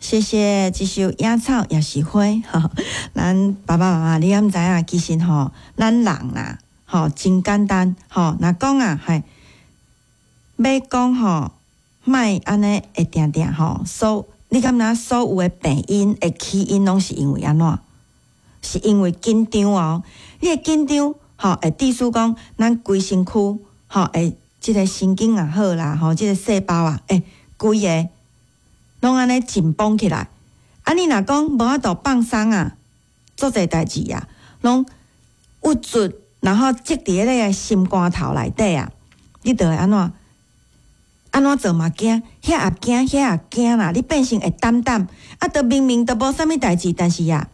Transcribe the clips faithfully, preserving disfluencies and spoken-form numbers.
謝謝這首《野草也是花》吼，咱爸爸媽媽，你敢知影？其實吼，咱人啦，吼，真簡單吼。若講啊，係欲講吼，莫按呢會定定吼，所你敢知所有的病因的起因，攏是因為按怎？是因為緊張哦。你會緊張吼，會致使講咱規身軀吼，會這個神經也好啦，吼，這個細胞啊，會規个攏按呢緊繃起來。啊，你若講無法度放鬆啊，足濟代誌啊，攏鬱卒，然後積佇咧個心肝頭內底啊，你就會按怎？按怎做嘛驚，遐也驚，遐也驚啦！你變成會膽膽，啊，都明明都無啥物代誌，但是啊，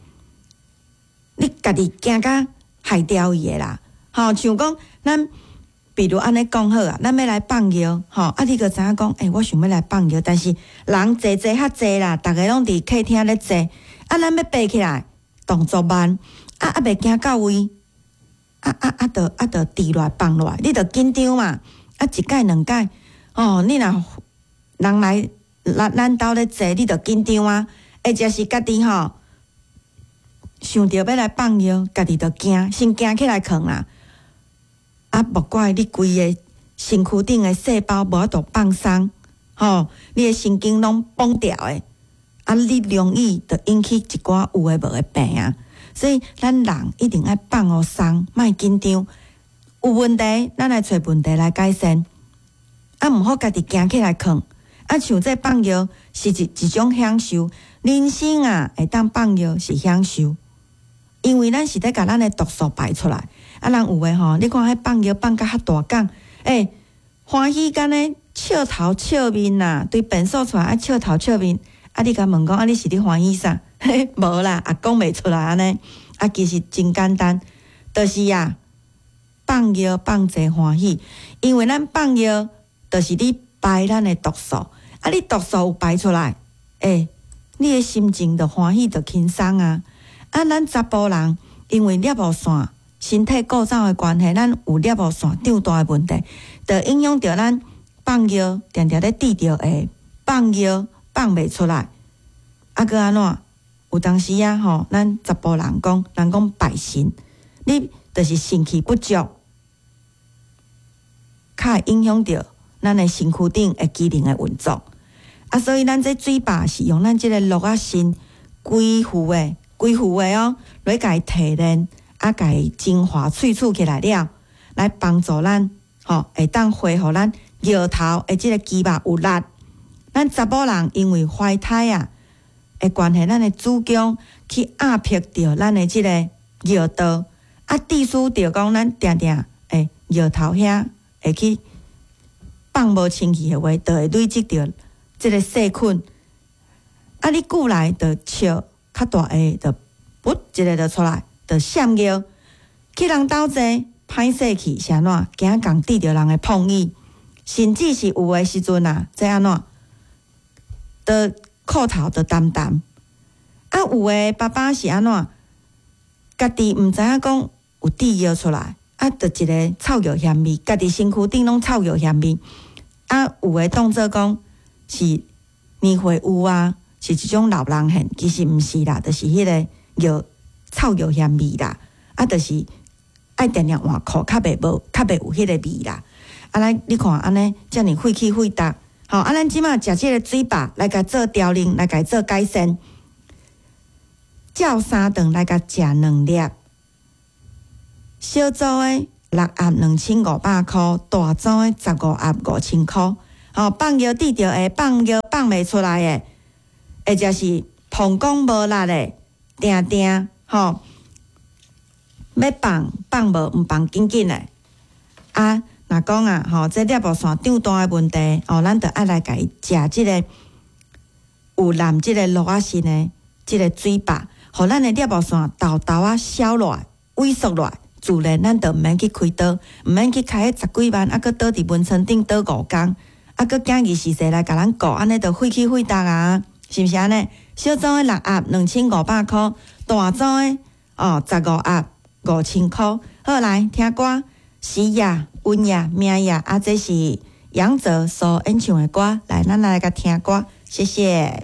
你家己驚甲害掉伊的啦。吼，像講咱，比如按呢講好啊，咱欲來放尿，吼，啊，你閣知影講，欸，我想欲來放尿，但是人濟濟較濟啦，逐个攏佇客廳咧坐，啊，咱欲爬起來，動作慢，啊啊，袂行到位，啊啊啊，就啊就跌落來放落來，你就緊張嘛，啊，一擺兩擺，哦，你若人來咱咱兜咧坐，你就緊張啊，或者是家己吼，想著欲來放尿，家己就驚，先驚起來睏啦。啊，莫怪你規个身軀頂的細胞無法度放鬆，吼，你的神經攏繃牢的，啊，你容易就引起一寡有的無的病啊。所以咱人一定愛放予鬆，莫緊張。有問題，咱來揣問題來改善。啊，毋好家己驚起來睏。啊，像這放尿是一一種享受，人生啊會當放尿是享受，因為咱是咧共咱的毒素排出來。啊，人有的吼，你看彼放尿放甲較大講，欸，歡喜甲呢笑頭笑面啦，對便所出來愛笑頭笑面。啊，你共問講，啊，你是咧歡喜啥？嘿，無啦，也講袂出來按呢。啊，其實真簡單，就是啊，放尿放濟歡喜，因為咱放尿，就是咧排咱的毒素。啊，你毒素有排出來，欸，你的心情就歡喜，就輕鬆啊。啊，咱查埔人因為攝護腺身體構造的關係，咱有攝護腺長大的問題，就影響著咱放尿，定定咧滴著會放尿放袂出來。啊，閣按怎？有當時啊，吼，咱查埔人講，人講拜神，你就是腎氣不足，較會影響著咱的身軀頂的機能的運作。啊，所以咱這水壩是用咱這个鹿仔腎規副的、規副的哦，來共伊提煉，啊，共伊精華萃取起來了，來幫助咱吼，會當恢復咱尿頭的這个肌肉有力。咱查某人因為懷胎啊的關係，咱的子宮去壓迫著咱的這个尿道，啊，致使著講咱定定會尿頭遐會去放無清氣的話，就會累積著這个細菌。啊，你久來就笑較大下，就噗一个就出來，就閃尿。去人兜坐，歹勢去是按怎？驚共得著人的碰椅，甚至是有的時陣啊，這按怎？就褲頭就澹澹。啊，有的爸爸是按怎？家己毋知影講有滴尿出來，啊，就一个臭尿嫌味，家己身軀頂攏臭尿嫌味。啊，有的當做講是年歲有啊，是一種老人現，其實毋是啦，就是彼个尿臭尿嫌味啦。啊，就是愛定定換褲，較袂無，較袂有彼个味啦。啊，來你看按呢，遮爾廢氣廢毒，吼！啊，咱這馬食這个水壩來共做調理，來共做改善。照三頓來共食兩粒，小組的六盒兩千五百箍，大組的十五盒五千箍。吼，放尿滴著會，放尿放袂出來的，或者是膀胱無力的，定定吼，欲放放無，毋放緊緊的。啊，若講啊，吼，這攝護腺長大的問題，哦，咱就愛來共伊食這个有含這个鹿仔腎的這个水壩，予咱的攝護腺沓沓仔消落來、萎縮落來，自然咱就毋免去開刀，毋免去開彼十幾萬，啊，閣倒佇門床頂倒五工，啊，閣驚二時勢來共咱顧，按呢就廢氣廢毒啊，是毋是按呢？小組的六盒兩千五百箍，大組的哦十五盒五千箍。好，來聽歌，時也、運也、命也，啊，這是楊哲所演唱的歌，來，咱來共聽歌，謝謝。